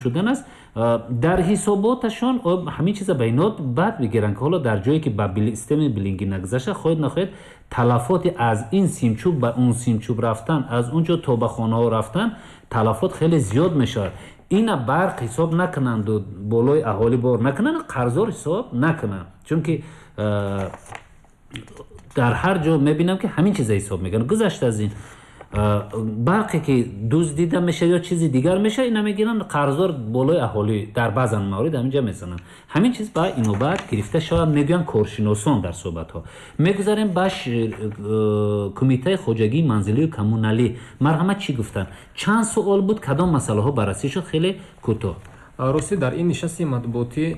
Шудан аст. Дар ҳисоботашон ҳамин чиза ба инот бад бигиранд, ки ҳоло дар ҷое ки ба системаи билингӣ нагузашта, хоҳед нахоҳед, талафоти аз ин симчӯб ба он симчӯб рафтан, аз он ҷо то ба хонаҳо рафтан, талафот хеле зиёд мешавад. Ина барқ ҳисоб накунанду болои аҳолӣ бор накунанд, қарздор ҳисоб накунанд, чунки дар ҳар ҷо мебинам, ки ҳамин чиза ҳисоб мекунанд. Гузашта аз ин, барқе ки дуздида мешавад ё чизи дигар мешавад, ина мегиранд, қарздор болои аҳолӣ дар баъзан маврид ҳаминҷа мезананд. Ҳамин чиз ба инобат гирифта шавад, мегӯянд коршиносон дар суҳбатҳо. Мегузарем ба кумитаи хоҷагии манзилию коммуналӣ. Марҳамат, чӣ гуфтанд? Чанд суол буд, кадом масъалаҳо баррасӣ шуд? Хеле кӯтоҳ. Ростӣ, дар ин нишасти матбуотӣ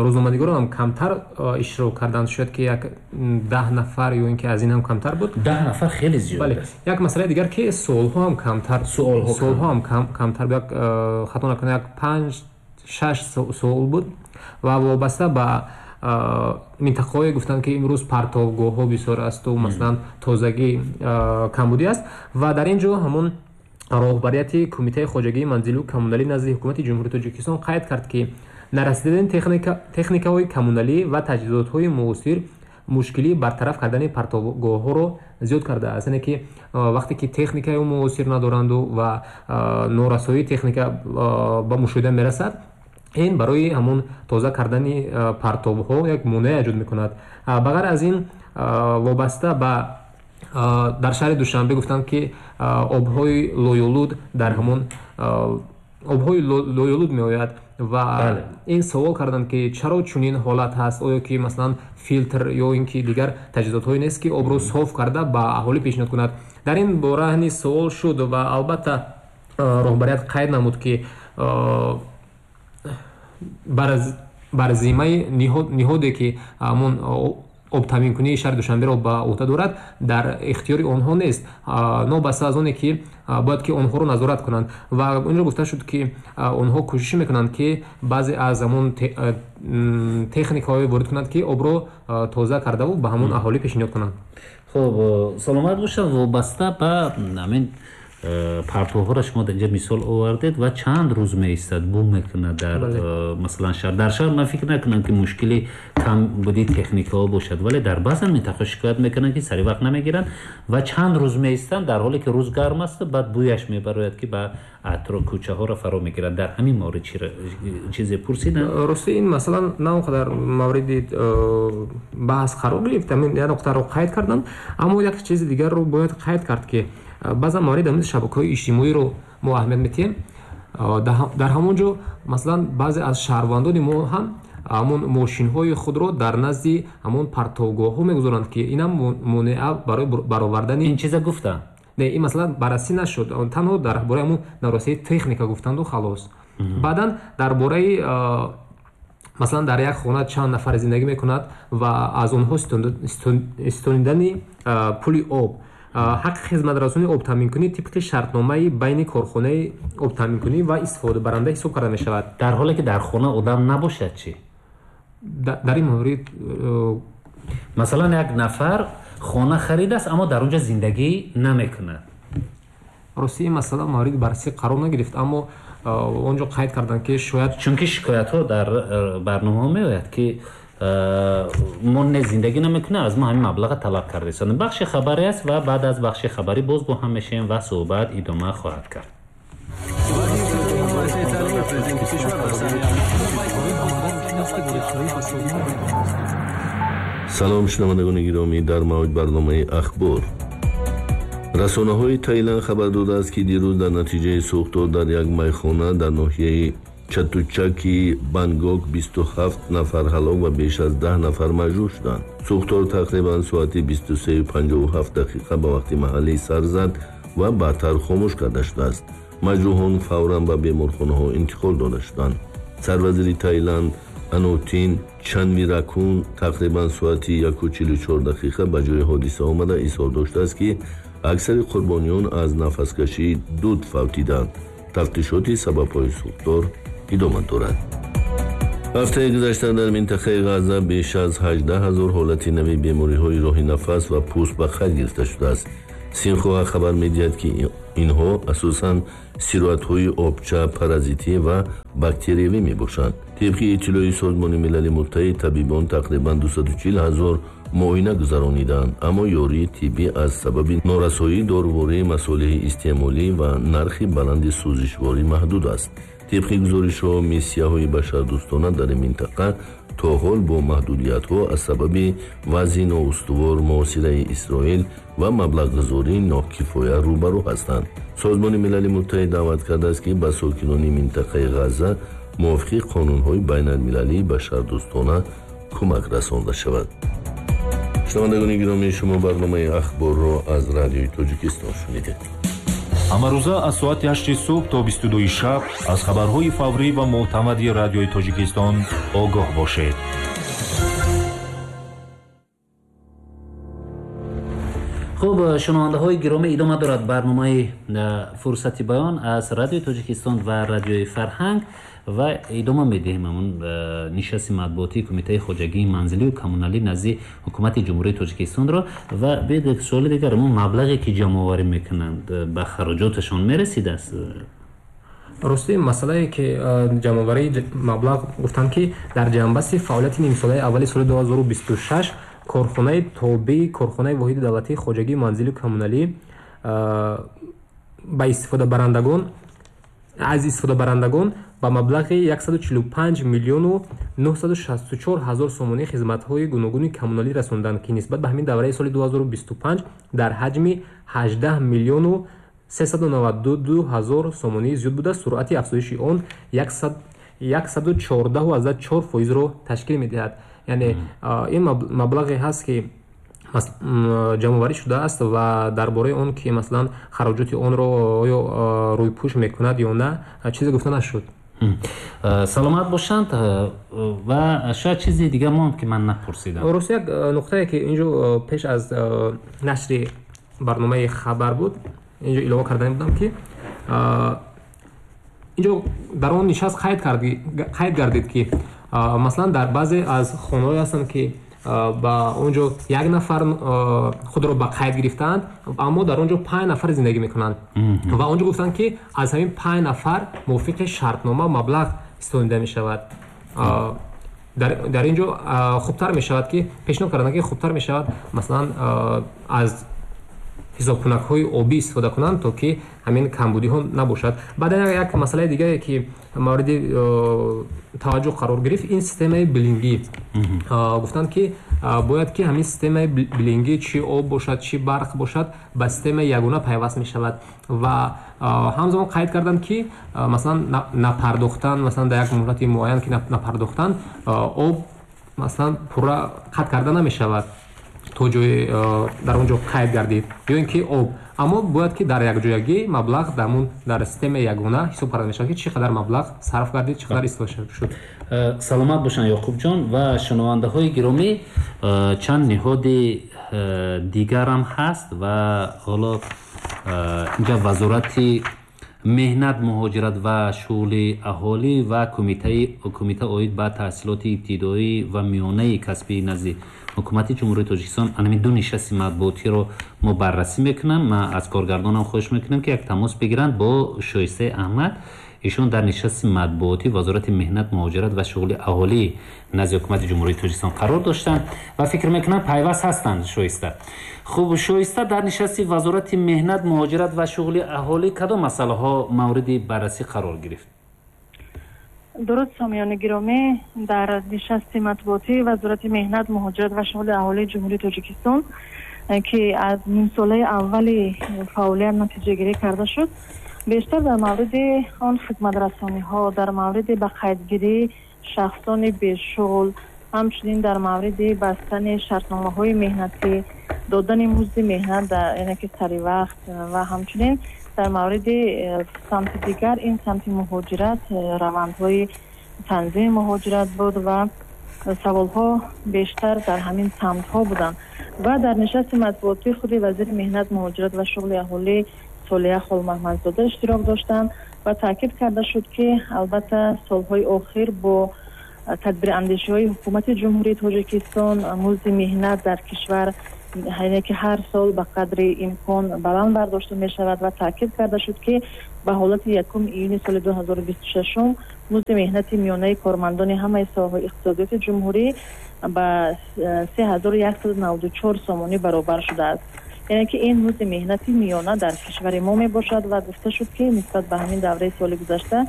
рӯзноманигорон ҳам камтар иштирок карданд, шояд ки як 10 нафар ё ин ки аз ин ҳам камтар буд. 10 нафар хеле зиёд аст. Як масъалаи дигар, ки суолҳо ҳам камтар, суолҳо ҳам камтар, як, хато накунам, як панҷ шаш суол буд ва вобаста ба минтақаҳое гуфтанд, ки имрӯз партовгоҳҳо бисёр асту, масалан, тозагӣ камбудӣ аст. Ва дар ин ҷо ҳамон роҳбарияти Кумитаи хоҷагии манзилу коммуналӣ назди Ҳукумати Ҷумҳурии Тоҷикистон қайд кард, ки нарасидани техникаҳои коммуналӣ ва таҷҳизотҳои муосир мушкилии бартараф кардани партовгоҳҳоро зиёд кардааст. Яъне ки вақте ки техникаи муосир надоранду ва норасоии техника ба мушоҳида мерасад, ин барои ҳамон тоза кардани партовҳо як монеа эҷод мекунад. Ба ғайр аз ин, вобаста ба дар шаҳри Душанбе гуфтанд, ки обҳои лоюлуд, дар ҳамон обҳои лоюлуд меояд ва ин савол карданд, ки чаро чунин ҳолат ҳаст, оё ки, масалан, филтр ё ин ки дигар таҷҳизотҳое нест, ки обро соф карда ба аҳолӣ пешниҳод кунад. Дар ин бора низ суол шуд ва албатта роҳбарият қайд намуд, ки бар зиммаи ниҳоде, ки ҳамон обтаъминкунии шаҳри Душанберо ба уҳда дорад, дар ихтиёри онҳо нест, нобаста аз оне ки бояд ки онҳоро назорат кунанд. Ва инро гуфта шуд, ки онҳо кӯшиш мекунанд, ки баъзе аз ҳамон техникаҳое ворид кунанд, ки обро тоза кардаву ба ҳамон аҳолӣ пешниҳод кунанд. Хуб, саломат бошад. Вобаста ба ҳамин партовҳоро шумо дар инҷа мисол овардед ва чанд рӯз меистад, бӯ мекунад дар масалан шаҳр. Дар шаҳр ман фикр накунам, ки мушкили камбудии техникаҳо бошад, вале дар баъзан минтақаҳо шикоят мекунанд, ки сари вақт намегиранд ва чанд рӯз меистанд, дар ҳоле ки рӯз гарм аст, баъд бӯяш мебарояд, ки ба атроф кӯчаҳоро фаро мегирад. Дар ҳамин маврид чизе пурсиданд? Рости, ин масъала на он қадар мавриди баҳс қарор гирифт, ҳамин як нуқтаро қайд карданд. Аммо як чизи дигарро бояд қайд кард, ки баъзан маврид ҳамин шабакаҳои иҷтимоиро мо аҳамият медиҳем. Дар ҳамон ҷо, масалан, баъзе аз шаҳрвандони мо ҳам ҳамон мошинҳои худро дар назди ҳамон партовгоҳҳо мегузоранд, ки инам монеа барои баровардани. Ин чиза гуфтанд? Не, ин масъала баррасӣ нашуд, танҳо дар бораи ҳамон нарасии техника гуфтанду халос. Баъдан дар бораи, масалан, дар як хона чанд нафар зиндагӣ мекунад ва аз онҳо истонидани пули об. Ҳаққи хизматрасонии обтаъминкунӣ тибқи шартномаи байни корхонаи обтаъминкунӣ ва истифодабаранда ҳисоб карда мешавад. Дар ҳоле ки дар хона одам набошад чӣ? Дар ин маврид Масалан, як нафар хона харидааст, аммо дар он ҷо зиндагӣ намекунад. Рости, ин масъала мавриди баррасӣ қарор нагирифт, аммо он ҷо қайд карданд, ки шояд Чунки шикоятҳо дар барномаҳо меояд, ки мо не зиндагӣ намекунем, аз мо ҳамин маблаға талаб кардаистанд. Бахши хабарӣ аст ва баъд аз бахши хабарӣ боз бо ҳам мешавем ва суҳбат идома хоҳад кард. Салом, шунавандагони гиромӣ, дар мавҷ барномаи «Ахбор». Расонаҳои Таиланд хабар додааст, ки дирӯз дар натиҷаи сӯхтор дар як майхона дар ноҳияи Чатучаки Бангкок 27 нафар ҳалок ва беш аз 10 нафар маҷрӯҳ шуданд. Сӯхтор тақрибан соати 23:57 дақиқа ба вақти маҳаллӣ сар зад ва баъдтар хомӯш карда шудааст. Маҷрӯҳон фавран ба беморхонаҳо интиқол дода шуданд. Сарвазири Таиланд Анутин Чанвиракун тақрибан соати 1:44 дақиқа ба ҷои ҳодиса омада, изҳор доштааст, ки аксари қурбониён аз нафаскашии дуд фавтиданд. Тафтишоти сабабҳои сӯхтор идома дорад. Ҳафтаи гузашта дар минтақаи Ғаза беш аз 18 000 ҳолати нави бемориҳои роҳи нафас ва пӯст ба қайд гирифта шудааст. Синхуа хабар медиҳад, ки инҳо асосан сироятҳои обча, паразитӣ ва бактериявӣ мебошанд. Тибқи иттилои Созмони Милали Муттаҳид, табибон тақрибан 240 ҳазор муоина гузарониданд, аммо ёрии тиббӣ аз сабаби норасоии дорувории масолеҳи истеъмолӣ ва нархи баланди сӯзишворӣ маҳдуд аст. Тибқи гузоришҳо, миссияҳои башардӯстона дар ин минтақа то ҳол бо маҳдудиятҳо аз сабаби вазъи ноустувор, муҳосираи Исроил ва маблағгузории нокифоя рӯбарӯ ҳастанд. Созмони Милали Муттаҳид даъват кардааст, ки ба сокинони минтақаи Ғазза мувофиқи қонунҳои байналмилалии башардӯстона кӯмак расонда шавад. Шунавандагони гиромӣ, шумо барномаи Ахборро аз Радиои Тоҷикистон шунидед. Ҳамарӯза аз соати 8 субҳ то 22 шаб аз хабарҳои фаврӣ ва мӯътамади Радиои Тоҷикистон огоҳ бошед. Хуб, шунавандаҳои гиромӣ, идома дорад барномаи Фурсати баён аз Радиои Тоҷикистон ва Радиои Фарҳанг ва идома медиҳем ҳамон нишасти матбуотии Кумитаи хоҷагии манзилию коммуналӣ назди Ҳукумати Ҷумҳурии Тоҷикистонро. Ва биёед як суоли дигар: ҳамон маблағе ки ҷамъоварӣ мекунанд, ба хароҷоташон мерасидааст? Рости, масъалае ки ҷамъоварии маблағ, гуфтанд, ки дар ҷанбасти фаъолияти нимсолаи аввали соли 2026 корхонаи тобеи корхонаи воҳиди давлатии хоҷагии манзилию коммуналӣ ба истифодабарандагон аз истифодабарандагон ба маблағи 145 миллиону 964 ҳазор сомонӣ хизматҳои гуногуни коммуналӣ расонданд, ки нисбат ба ҳамин давраи соли 2025 дар ҳаҷми 18 миллиону 392 ҳазор сомонӣ зиёд буда, суръати афзоиши он 114,4 фоизро ташкил медиҳад. Яъне ин маблағе ҳаст, ки ҷамъоварӣ шудааст, ва дар бораи он ки, масалан, хароҷоти онро оё рӯйпӯш мекунад ё на, чизе гуфта нашуд. Саломат бошанд. Ва шояд чизи дигар монд, ки ман напурсидам. Рости, як нуқтае, ки инҷо пеш аз нашри барномаи хабар буд, инҷо илова кардани будам, ки инҷо дар он нишаст қайд гардид, ки масалан, дар баъзе аз хонаҳое ҳастанд, ки ба он ҷо як нафар худро ба қайд гирифтаанд, аммо дар он ҷо 5 нафар зиндагӣ мекунанд, ва он ҷо гуфтанд, ки аз ҳамин 5 нафар мувофиқи шартнома маблағ истонида мешавад. Дар ин ҷо хубтар мешавад, ки пешниҳод карданд, ки хубтар мешавад, масалан, аз ҳисобкунакҳои обӣ истифода кунанд, то ки ҳамин камбудиҳо набошад. Баъдан як масъалаи дигаре, ки мавриди таваҷҷӯҳ қарор гирифт, ин системаи биллингӣ. Гуфтанд, ки бояд ки ҳамин системаи биллингӣ, чӣ об бошад, чӣ барқ бошад, ба системаи ягона пайваст мешавад. Ва ҳамзамон қайд карданд, ки масалан, напардохтан, масалан, дар як муҳлати муайян ки напардохтан, об, масалан, пурра қатъ карда намешавад, то ҷое дар он ҷо қайд гардид, ё ин ки об, аммо бояд ки дар якҷоягӣ маблағ дар системаи ягона ҳисоб карда мешавад, ки чӣ қадар маблағ сарф гардид, чӣ қадар истифода шуд. Саломат бошанд, Ёқубҷон. Ва шунавандаҳои гиромӣ, чанд ниҳоди дигарам ҳаст ва ҳоло инҷа Вазорати меҳнат, муҳоҷират ва шуғли аҳолӣ ва кумита оид ба таҳсилоти ибтидоӣ ва миёнаи касбии назди Ҳукумати Ҷумҳурии Тоҷикистон анами ду нишасти матбуотиро мо баррасӣ мекунам. Ман аз коргардонам хоҳиш мекунам, ки як тамос бигиранд бо Шоистаи Аҳмад. Ишон дар нишасти матбуотӣ Вазорати меҳнат, муҳоҷират ва шуғли аҳолӣ назди Ҳукумати Ҷумҳурии Тоҷикистон қарор доштанд ва фикр мекунам, пайваст ҳастанд. Шоиста, хуб, Шоиста, дар нишасти Вазорати меҳнат, муҳоҷират ва шуғли аҳолӣ кадом масъалаҳо мавриди баррасӣ қарор гирифт? Дуруд, сомиёни гиромӣ. Дар нишасти матбуотии Вазорати меҳнат, муҳоҷират ва шуғли аҳолии Ҷумҳурии Тоҷикистон, ки аз нимсолаи аввали фаъолият натиҷагирӣ карда шуд, бештар дар мавриди он хизматрасониҳо, дар мавриди ба қайдгирии шахсони бешуғл, ҳамчунин дар мавриди бастани шартномаҳои меҳнатӣ, додани музди меҳнат, яъне ки сари вақт, ва ҳамчунин дар мавриди самти дигар, ин самти муҳоҷират, равандҳои танзими муҳоҷират буд ва саволҳо бештар дар ҳамин самтҳо буданд. Ва дар нишасти матбуотӣ худи вазири меҳнат, муҳоҷират ва шуғли аҳолӣ Солиҳа Холмаҳмадзода иштирок доштанд ва таъкид карда шуд, ки албатта солҳои охир бо тадбирандешиҳои Ҳукумати Ҷумҳурии Тоҷикистон музди меҳнат дар кишвар Яъне ки ҳар сол ба қадри имкон баланд бардошта мешавад ва таъкид карда шуд, ки ба ҳолати 1 июни соли 2026 музди меҳнати миёнаи кормандони ҳамаи соҳаҳои иқтисодиёти ҷумҳурӣ ба 3194 сомонӣ баробар шудааст. Яъне ки ин музди меҳнати миёна дар кишвари мо мебошад ва гуфта шуд, ки нисбат ба ҳамин давраи соли гузашта,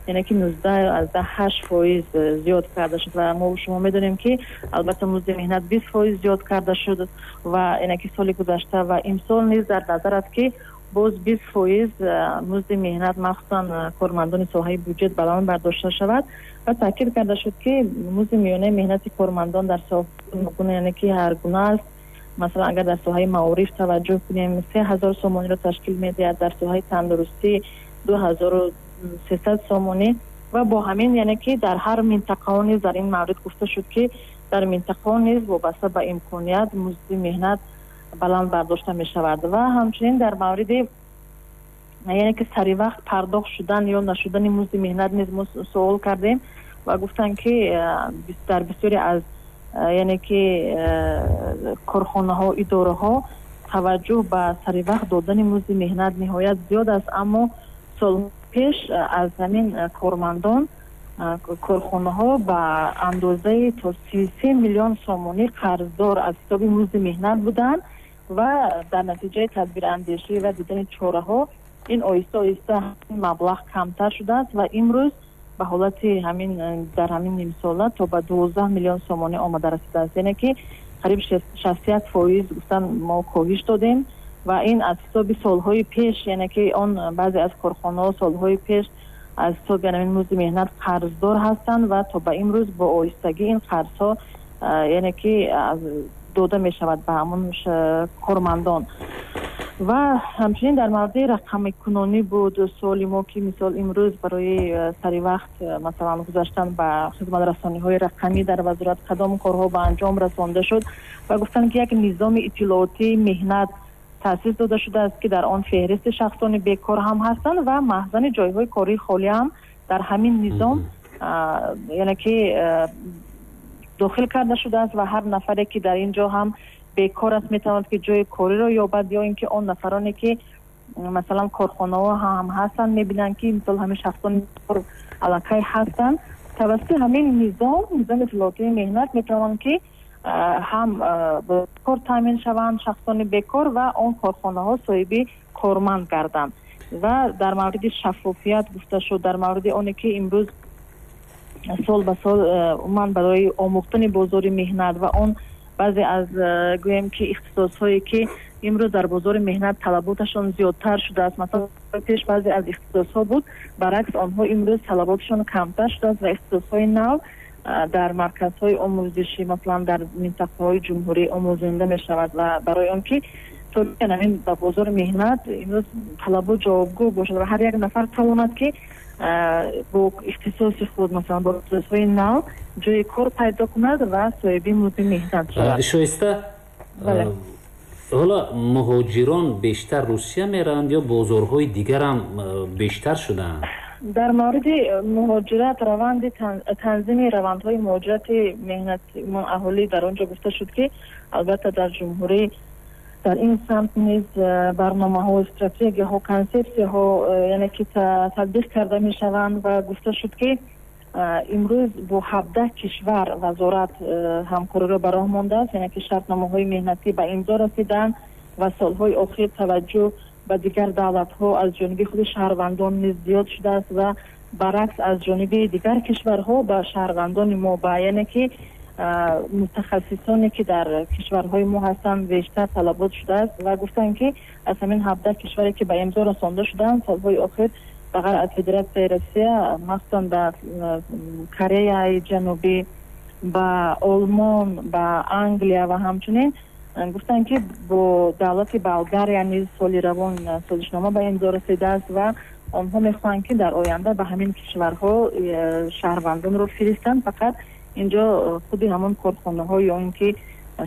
яъне ки 19,8% зиёд карда шуд. Ва мо шумо медонем, ки албатта музди меҳнат 20% зиёд карда шуд ва яъне ки соли гузашта ва имсол низ дар назар аст, ки боз 20% музди меҳнат, махсусан кормандони соҳаи буҷет, баланд бардошта шавад. Ва таъкид карда шуд, ки музди миёнаи меҳнати кормандон дар соҳа, яъне ки ҳар гуна аст. Масалан, агар дар соҳаи маориф таваҷҷӯҳ кунем, 3000 сомониро ташкил медиҳад, дар соҳаи тандурустӣ 2300 сомонӣ. Ва бо ҳамин, яъне ки дар ҳар минтақао низ, дар ин маврид гуфта шуд, ки дар минтақао низ вобаста ба имконият музди меҳнат баланд бардошта мешавад. Ва ҳамчунин дар мавриди, яъне ки саривақт пардохт шудан ё нашудани музди меҳнат низ мо суол кардем ва гуфтанд, ки дар бисёре аз, яъне ки корхонаҳо, идораҳо таваҷҷӯҳ ба саривақт додани музди меҳнат ниҳоят зиёд аст, аммо солҳо пеш аз ҳамин кормандон корхонаҳо ба андозаи то 33 миллион сомонӣ қарздор аз ҳисоби музди меҳнат буданд ва дар натиҷаи тадбирандешӣ ва дидани чораҳо ин оҳиста оҳиста маблағ камтар шудааст ва имрӯз ба ҳолати ҳамин дар ҳамин нимсола то ба 12 миллион сомонӣ омада расидааст. Яъне ки қариб 61% гуфтан мо коҳиш додем ва ин аз ҳисоби солҳои пеш, яъне ки он баъзе аз корхонаҳо солҳои пеш аз ҳисоби ҳамин музди меҳнат қарздор ҳастанд ва то ба имрӯз бо оҳистагӣ ин қарзҳо, яъне ки дода мешавад ба ҳамон кормандон. Ва ҳамчунин дар мавриди рақамикунонӣ буд суоли мо, ки мисол имрӯз барои саривақт, масалан, гузаштан ба хизматрасониҳои рақамӣ дар вазорат кадом корҳо ба анҷом расонда шуд. Ва гуфтанд, ки як низоми иттилоотии меҳнат таъсис дода шудааст, ки дар он феҳристи шахсони бекор ҳам ҳастанд ва маҳзани ҷойҳои кории холӣ ҳам дар ҳамин низом, яъне ки дохил карда шудааст ва ҳар нафаре, ки дар ин ҷо ҳам бекор аст, метавонад, ки ҷои кориро ёбад, ё ин ки он нафароне, ки масалан корхонаҳо ҳам ҳастанд, мебинанд, ки мисол ҳамин шахсони аллакай ҳастанд, тавассути ҳамин низом, низоми иттилоотии меҳнат, метавонанд, ки ҳам бо кор таъмин шаванд шахсони бекор ва он корхонаҳо соҳиби корманд гарданд. Ва дар мавриди шаффофият гуфта шуд, дар мавриди оне ки имрӯз сол ба сол умуман барои омӯхтани бозори меҳнат ва он баъзе аз, гӯем ки, ихтисосҳое, ки имрӯз дар бозори меҳнат талаботашон зиёдтар шудааст, масалан, пеш баъзе аз ихтисосҳо буд, баръакс онҳо имрӯз талаботашон камтар шудааст ва ихтисосҳои нав дар марказҳои омӯзишӣ, масалан, дар минтақаҳои ҷумҳурӣ омӯзонда мешавад ва барои он ки то ҳамин ба бозори меҳнат имрӯз талабот ҷавобгӯ бошад ва ҳар як нафар тавонад, ки бо ихтисоси худ, масалан, бо ихтисосҳои нав ҷои кор пайдо кунад ва соҳиби музди меҳнат шавад. Шоиста, ҳоло муҳоҷирон бештар Русия мераванд ё бозорҳои дигарам бештар шудаанд? Дар мавриди муҳоҷират, раванди танзими равандҳои муҳоҷирати меҳнати аҳолӣ, дар он ҷо гуфта шуд, ки албатта дар ҷумҳурӣ дар ин самт низ барномаҳо, стратегияҳо, консепсияҳо, яъне ки татбиқ карда мешаванд. Ва гуфта шуд, ки имрӯз бо 17 кишвар вазорат ҳамкориро ба роҳ мондааст, яъне ки шартномаҳои меҳнатӣ ба имзо расиданд ва солҳои охир таваҷҷӯҳ ба дигар давлатҳо аз ҷониби худи шаҳрвандон низ зиёд шудааст ва баръакс аз ҷониби дигар кишварҳо ба шаҳрвандони мо, ба яъне ки мутахассисоне, ки дар кишварҳои мо ҳастанд, бештар талабот шудааст. Ва гуфтанд, ки аз ҳамин 17 кишваре, ки ба имзо расонда шудаанд, солҳои охир ба ғайр аз Федератсияи Россия, махсусан ба Кореяи Ҷанубӣ, ба Олмон, ба Англия ва ҳамчунин гуфтанд, ки бо давлати Болгария низ соли равон созишнома ба имзо расидааст ва онҳо мехоҳанд, ки дар оянда ба ҳамин кишварҳо шаҳрвандонро фиристанд. Фақат инҷо худи ҳамон корхонаҳо ё ин ки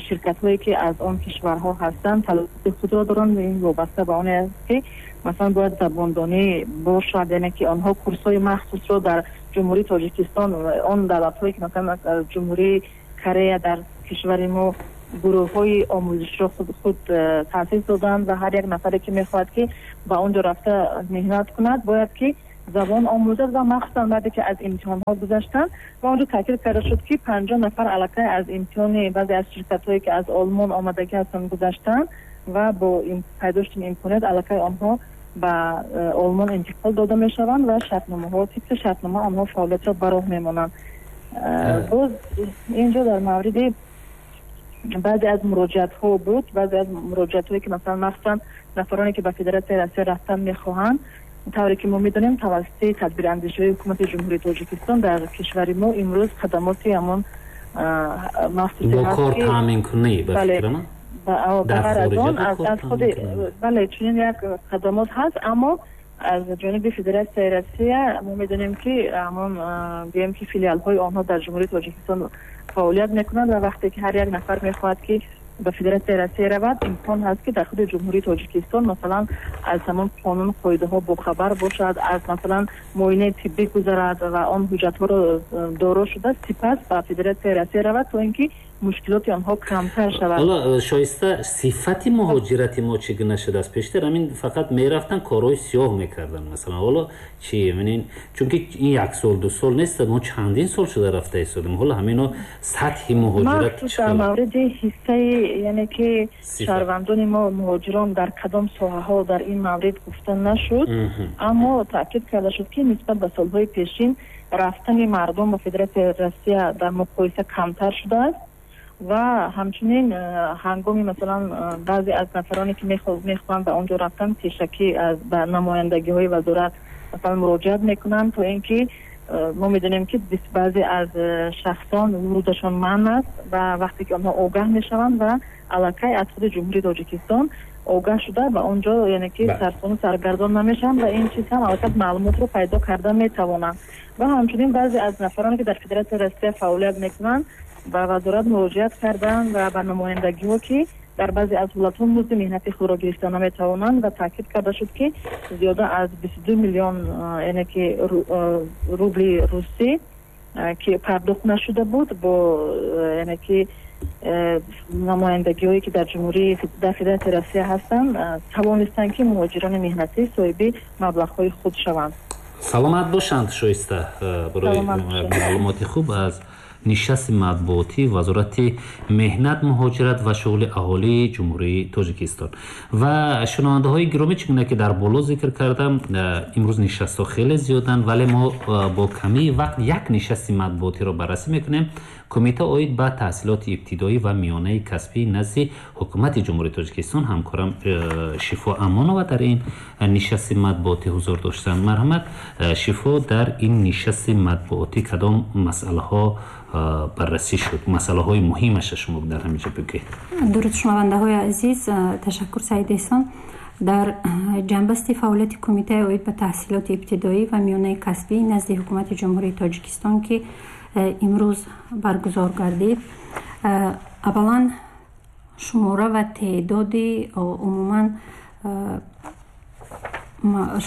ширкатҳое, ки аз он кишварҳо ҳастанд, талаботи худро доранд. Ин вобаста ба оне аст, ки масалан бояд забондонӣ бошад, яъне ки онҳо курсҳои махсусро дар Ҷумҳурии Тоҷикистон, он давлатҳое, ки масалан аз Ҷумҳурии Корея дар кишвари мо Гурӯҳҳои омӯзишро худ таъсис доданд ва ҳар як нафаре, ки мехоҳад, ки ба он ҷо рафта меҳнат кунад, бояд ки забон омӯзад ва махсусан баъде ки аз имтиҳонҳо гузаштанд. Ва онҷо таъкид карда шуд, ки 50 нафар аллакай аз имтиҳони баъзе аз ширкатҳое, ки аз Олмон омадагӣ ҳастанд, гузаштанд ва бо пайдо шудани имконият аллакай онҳо ба Олмон интиқол дода мешаванд ва шартномаҳо, тибқи шартнома онҳо фаъолиятро ба роҳ мемонанд. Боз инҷо дар мавриди баъзе аз муроҷиатҳо буд, баъзе аз муроҷиатҳое, ки масалан махсусан нафароне, ки ба Федератсияи Россия рафтан мехоҳанд. Тавре ки мо медонем, тавассути тадбирандешиҳои Ҳукумати Ҷумҳурии Тоҷикистон дар кишвари мо имрӯз хадамоти ҳамон махсусе бо кор таъминкунӣ, ба фикрам. Бағайр аз он, аз худи, бале, чунин як хадамот ҳаст, аммо аз ҷониби Федератсияи Россия мо медонем, ки ҳамон, гӯем ки, филиалҳои онҳо дар Ҷумҳурии Тоҷикистон фаъолият мекунанд ва вақте ки ҳар як нафар мехоҳад, ки ба Федератсияи Россия равад, имкон ҳаст, ки дар худи Ҷумҳурии Тоҷикистон, масалан, аз ҳамон қонун, қоидаҳо бохабар бошад, аз, масалан, муоинаи тиббӣ гузарад ва он ҳуҷҷатҳоро доро шуда, сипас ба Федератсияи Россия равад, то ин ки мушкилоти онҳо камтар шавад. Ҳоло, Шоиста, сифати муҳоҷирати мо чӣ гуна шудааст? Пештар ҳамин фақат мерафтан, корҳои сиёҳ мекарданд, масалан. Ҳоло чӣ? Ин чунки ин як сол, ду сол нест, мо чандин сол шуда рафта истодем. Ҳоло ҳамино сатҳи муҳоҷират чӣ? Дар мавриди ҳиссаи, яъне ки шаҳрвандони мо, муҳоҷирон дар кадом соҳаҳо, дар ин маврид гуфта нашуд, аммо таъкид карда шуд, ки нисбат ба солҳои пешин рафтани мардум ба Федератсияи Россия дар муқоиса камтар шудааст. Ва ҳамчунин ҳангоми, масалан, баъзе аз нафароне, ки мехоҳанд ба он ҷо рафтан, пешакӣ ба намояндагиҳои вазорат, масалан, муроҷиат мекунанд, то ин ки мо медонем, ки баъзе аз шахсон вурудашон манъ аст ва вақте ки онҳо огаҳ мешаванд ва аллакай аз худи Ҷумҳурии Тоҷикистон огаҳ шуда, ба он ҷо, яъне ки, сарсону саргардон намешаванд ва ин чиз ҳам аллакай маълумотро пайдо карда метавонанд. Ва ҳамчунин баъзе аз нафароне, ки дар Федератсияи Россия фаъолият мекунанд, ба вазорат муроҷиат карданд ва ба намояндагиҳо, ки дар баъзе аз ҳолатҳо музди меҳнати худро гирифта наметавонанд ва таъкид карда шуд, ки зиёда аз 22 миллион, яъне ки, рубли русӣ, ки пардохт нашуда буд, бо, яъне ки, намояндагиҳое, ки дар ҷумҳурии, дар Федератсияи Россия ҳастанд, тавонистанд, ки муҳоҷирони меҳнатӣ соҳиби маблағҳои худ шаванд. Саломат бошанд, Шоиста, барои маълумоти хуб аз нишасти матбуотии Вазорати меҳнат, муҳоҷират ва шуғли аҳолии Ҷумҳурии Тоҷикистон. Ва шунавандаҳои гиромӣ, чӣ гуна ки дар боло зикр кардам, имрӯз нишастҳо хеле зиёданд, вале мо бо камии вақт як нишасти матбуотиро баррасӣ мекунем: Кумита оид ба таҳсилоти ибтидоӣ ва миёнаи касбӣ назди Ҳукумати Ҷумҳурии Тоҷикистон. Ҳамкорам Шифо Амонова дар ин нишасти матбуотӣ ҳузур доштанд. Марҳамат, Шифо, дар ин нишасти матбуотӣ кадом масъалаҳо баррасӣ шуд? Масъалаҳои муҳимаша шумо дар ҳаминҷо бигӯед. Дуруд, шунавандаҳои азиз! Ташаккур, Саид Эҳсон. Дар ҷанбасти фаъолияти Кумитаи оид ба таҳсилоти ибтидоӣ ва миёнаи касбӣ назди Ҳукумати Ҷумҳурии Тоҷикистон, ки имрӯз баргузор гардид, аввалан шумора ва теъдоди умуман,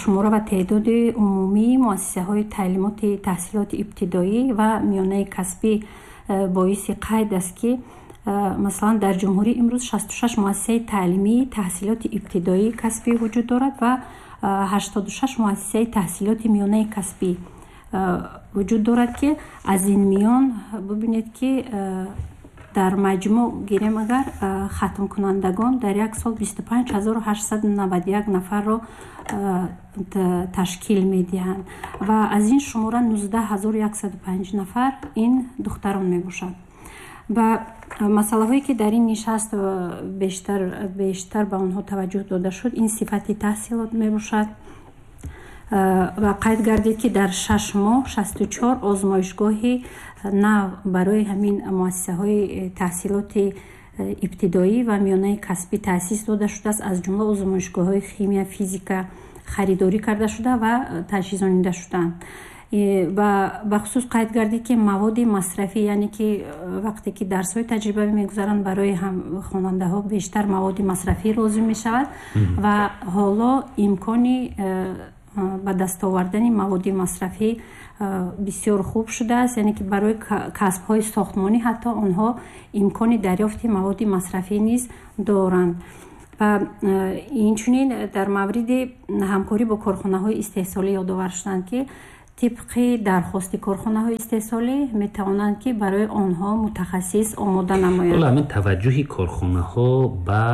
шумора ва теъдоди умумии муассисаҳои таълимоти таҳсилоти ибтидоӣ ва миёнаи касбӣ боиси қайд аст, ки масалан, дар ҷумҳурӣ имрӯз 66 муассисаи таълимии таҳсилоти ибтидоӣ касбӣ вуҷуд дорад ва 86 муассисаи таҳсилоти миёнаи касбӣ вуҷуд дорад, ки аз ин миён бубинед, ки дар маҷмӯъ гирем агар, хатмкунандагон дар як сол 25 891 нафарро ташкил медиҳанд ва аз ин шумора 19 105 нафар ин духтарон мебошанд. Ва масъалаҳое, ки дар ин нишаст бештар ба онҳо таваҷҷӯҳ дода шуд, ин сифати таҳсилот мебошад. Ва қайд гардид, ки дар 6 моҳ 64 озмоишгоҳи нав барои ҳамин муассисаҳои таҳсилоти ибтидоӣ ва миёнаи касбӣ таъсис дода шудааст. Аз ҷумла озмоишгоҳҳои химия, физика харидорӣ карда шуда ва таҷҳизонида шудаанд. Ва бахусус қайд гардид, ки маводи масрафӣ, яъне ки вақте ки дарсҳои таҷрибавӣ мегузаранд, барои хонандаҳо бештар маводи масрафӣ лозим мешавад ва ҳоло имкони ба даст овардани маводи масрафӣ бисёр хуб шудааст, яъне ки барои касбҳои сохтмонӣ ҳатто онҳо имкони дарёфти маводи масрафӣ низ доранд. Ва инчунин дар мавриди ҳамкорӣ бо корхонаҳои истеҳсолӣ ёдовар шуданд, ки тибқи дархости корхонаҳои истеҳсолӣ метавонанд, ки барои онҳо мутахассис омода намоянд. Ҳамин таваҷҷӯҳи корхонаҳо ба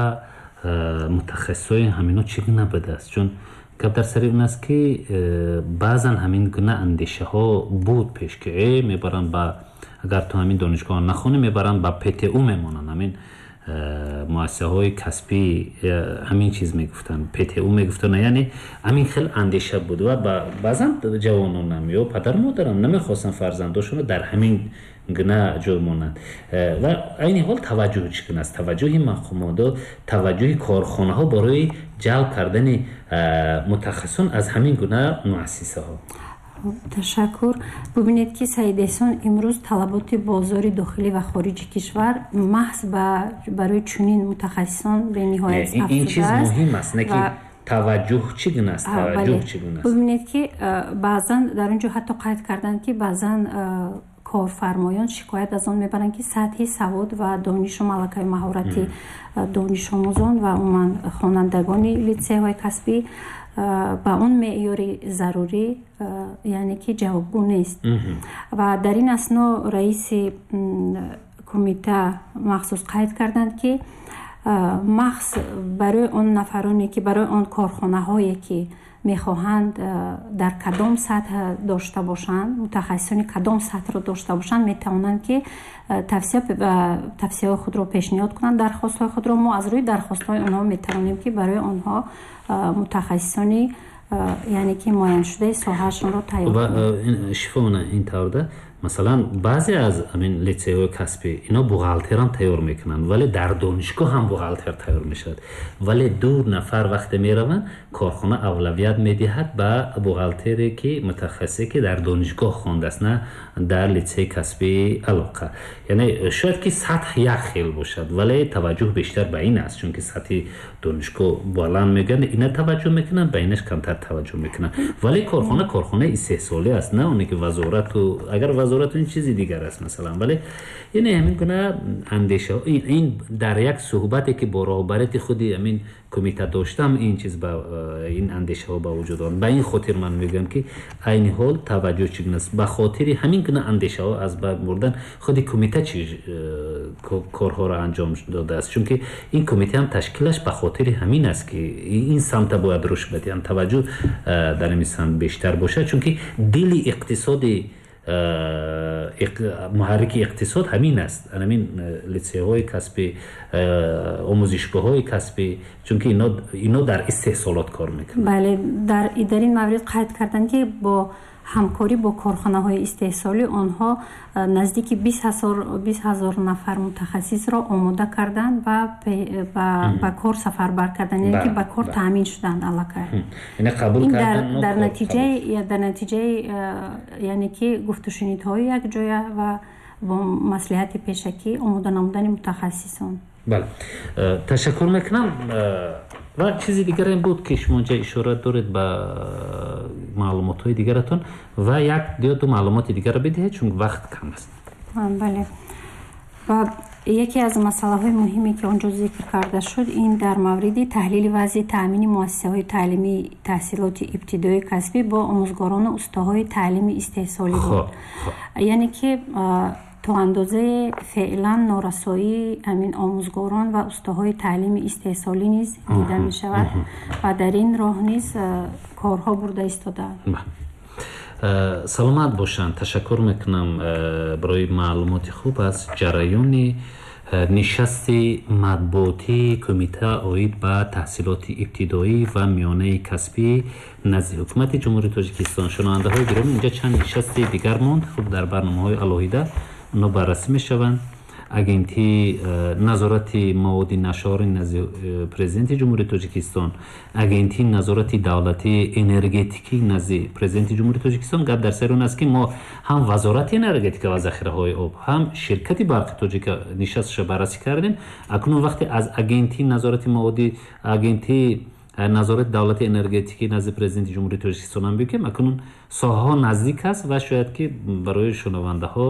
мутахассисҳои ҳамино чӣ гуна будааст? Чун гап дар сари он аст, ки баъзан ҳамин гуна андешаҳо буд пеш, ки мебаранд ба, агар ту ҳамин донишгоҳ нахонӣ, мебаранд ба ПТУ мемонанд, ҳамин муассисаҳои касбӣ, ҳамин чиз мегуфтанд, ПТУ мегуфтанд, яъне ҳамин хел андеша буд ва баъзан ҷавононам ё падару модарам намехостанд фарзандошонро дар ҳамин гуна ҷой монанд. Ва айни ҳол таваҷҷӯҳ чӣ гуна аст? Таваҷҷӯҳи мақомото, таваҷҷӯҳи корхонаҳо барои ҷалб кардани мутахассисон аз ҳамин гуна муассисаҳо. Ташаккур. Бубинед, ки Саид Эҳсон, имрӯз талаботи бозори дохилӣ ва хориҷи кишвар маҳз барои чунин мутахассисон бениҳоят ин чиз муҳим аст, не ки таваҷҷӯҳ чӣ гуна аст, таваҷҷӯҳ чӣ гуна аст? Бубинед, ки баъзан дар он ҷо ҳатто қайд карданд, ки баъзан корфармоён шикоят аз он мебаранд, ки сатҳи савод ва донишу малакаи маҳорати донишомӯзон ва умуман хонандагони литсейҳои касбӣ ба он меъёри зарурӣ, яъне ки ҷавобгӯ нест. Ва дар ин асно раиси кумита махсус қайд карданд, ки махз барои он нафароне, ки барои он корхонаҳое, ки мехоҳанд дар кадом сатҳ дошта бошанд, мутахассисони кадом сатҳро дошта бошанд, метавонанд, ки тавсияҳои худро пешниҳод кунанд, дархостҳои худро. Мо аз рӯи дархостҳои онҳо метавонем, ки барои онҳо мутахассисони, яъне ки муайяншудаи соҳаашонро тайёр кунем. Шифона, ин таврда, масалан, баъзе аз ҳамин литсейҳои касбӣ ино бухгалтерам тайёр мекунанд, вале дар донишгоҳ ҳам бухгалтер тайёр мешавад, вале ду нафар вақте мераванд, корхона авлавият медиҳад ба бухгалтере, ки мутахассисе, ки дар донишгоҳ хондааст, на дар литсейи касбии алоқа. Яъне шояд ки сатҳ як хел бошад, вале таваҷҷӯҳ бештар ба ин аст, чунки сатҳи донишгоҳ баланд мегӯянд, ина таваҷҷӯҳ мекунанд, ба инаш камтар таваҷҷӯҳ мекунанд. Вале корхона корхонаи истеҳсолӣ аст, на оне ки вазорату, агар вазорату, ин чизи дигар аст, масалан. Вале яъне ҳамин гуна андеша, ин дар як суҳбате, ки бо роҳбарияти худи ҳамин кумита доштам, ин чиз ба ин андешаҳо ба вуҷуд омад. Ба ин хотир ман мегӯям, ки айни ҳол таваҷҷӯҳ чӣ гуна аст? Ба хотири ҳамин гуна андешаҳо аз байн бурдан худи кумита чӣ корҳоро анҷом додааст? Чунки ин кумита ҳам ташкилаш ба хотири ҳамин аст, ки ин самта бояд рушд бидиҳанд, таваҷҷӯҳ дар ин самт бештар бошад, чунки дили иқтисоди, муҳаррики иқтисод ҳамин аст, ҳамин литсейҳои касбӣ, омӯзишгоҳҳои касбӣ, чунки ино дар истеҳсолот кор мекунанд. Бале, дар ин маврид қайд карданд, ки бо ҳамкорӣ бо корхонаҳои истеҳсолӣ онҳо наздики 20 000 нафар мутахассисро омода карданд ва ба кор сафарбар карданд, яъне ки ба кор таъмин шуданд аллакай. Дар натиҷаи, яъне ки гуфтушунидҳои якҷоя ва бо маслиҳати пешакӣ омода намудани мутахассисон. Бале, ташаккур мекунам. Ва чизи дигар ин буд, ки шумо инҷа ишора доред ба маълумотҳои дигаратон, ва як ё ду маълумоти дигарро бидиҳед, чун вақт кам аст. Бале, ва яке аз масъалаҳои муҳиме, ки он ҷо зикр карда шуд, ин дар мавриди таҳлили вазъи таъмини муассисаҳои таълимии таҳсилоти ибтидоии касбӣ бо омӯзгорону устоҳои таълими истеҳсолӣ буд. Яъне ки то андозае феълан норасоии ҳамин омӯзгорон ва устоҳои таълими истеҳсолӣ низ дида мешавад ва дар ин роҳ низ корҳо бурда истодаанд. Саломат бошанд. Ташаккур мекунам барои маълумоти хуб аз ҷараёни нишасти матбуотии кумита оид ба таҳсилоти ибтидоӣ ва миёнаи касбӣ назди Ҳукумати Ҷумҳурии Тоҷикистон. Шунавандаҳои гиромӣ, инҷа чанд нишасти дигар монд, хуб, дар барномаҳои алоҳида онҳо баррасӣ мешаванд. Агентии назорати маводи нашъаовари назди Президенти Ҷумҳурии Тоҷикистон, Агентии назорати давлатии энергетикӣ назди Президенти Ҷумҳурии Тоҷикистон. Гап дар сари он аст, ки мо ҳам Вазорати энергетика ва захираҳои об, ҳам ширкати барқи тоҷика нишасташа баррасӣ кардем. Акнун вақте аз Агентии назорати маводи, Агентии Назорати давлати энергетикӣ назди Президенти Ҷумҳурии Тоҷикистон ҳам бигӯем, акнун соҳаҳо наздик аст ва шояд ки барои шунавандаҳо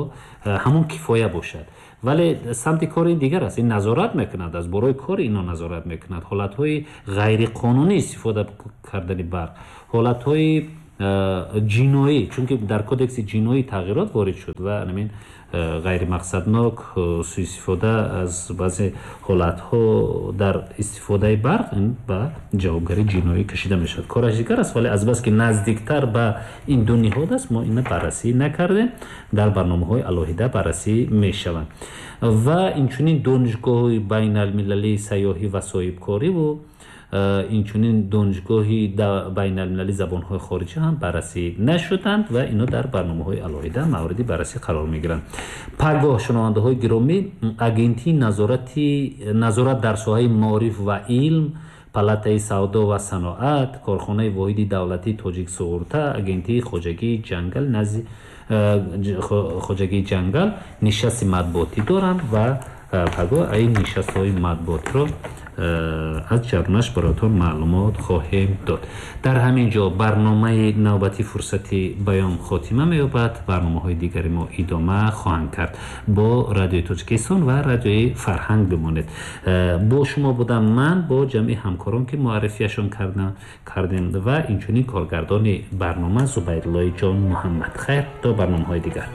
ҳамон кифоя бошад, вале самти кори ин дигар аст. Ин назорат мекунад, аз борои кори ино назорат мекунад ҳолатҳои ғайриқонунӣ истифода кардани барқ, ҳолатҳои ҷиноӣ, чунки дар кодекси ҷиноӣ тағйирот ворид шуд ва ҳамин ғайримақсаднок суистифода аз баъзе ҳолатҳо дар истифодаи барқ ин ба ҷавобгарии ҷиноӣ кашида мешавад. Кораш дигар аст, вале азбаски наздиктар ба ин ду ниҳод аст, мо ина баррасӣ накардем, дар барномаҳои алоҳида баррасӣ мешаванд. Ва инчунин Донишгоҳи байналмилалии сайёҳӣ ва соҳибкориву инчунин Донишгоҳи байналмилалии забонҳои хориҷӣ ҳам баррасӣ нашуданд ва ино дар барномаҳои алоҳида мавриди баррасӣ қарор мегиранд. Пагоҳ, шунавандаҳои гиромӣ, Агентии назорат дар соҳаи маориф ва илм, Палатаи савдо ва саноат, корхонаи воҳиди давлатии Тоҷик суғурта, Агентии хоҷагии ҷангал назди хоҷагии ҷангал нишасти матбуотӣ доранд ва пагоҳ ин нишастҳои матбуотиро аз ҷарнаш бароятон маълумот хоҳем дод. Дар ҳамин ҷо барномаи навбати Фурсати баён хотима меёбад. Барномаҳои дигари мо идома хоҳанд кард. Бо Радиои Тоҷикистон ва Радиои Фарҳанг бимонед. Бо шумо будам ман бо ҷамъи ҳамкорон, ки муаррифиашон кардем, ва инчунин коргардони барнома Зубайдуллои Ҷон Муҳаммад. Хайр, то барномаҳои дигар.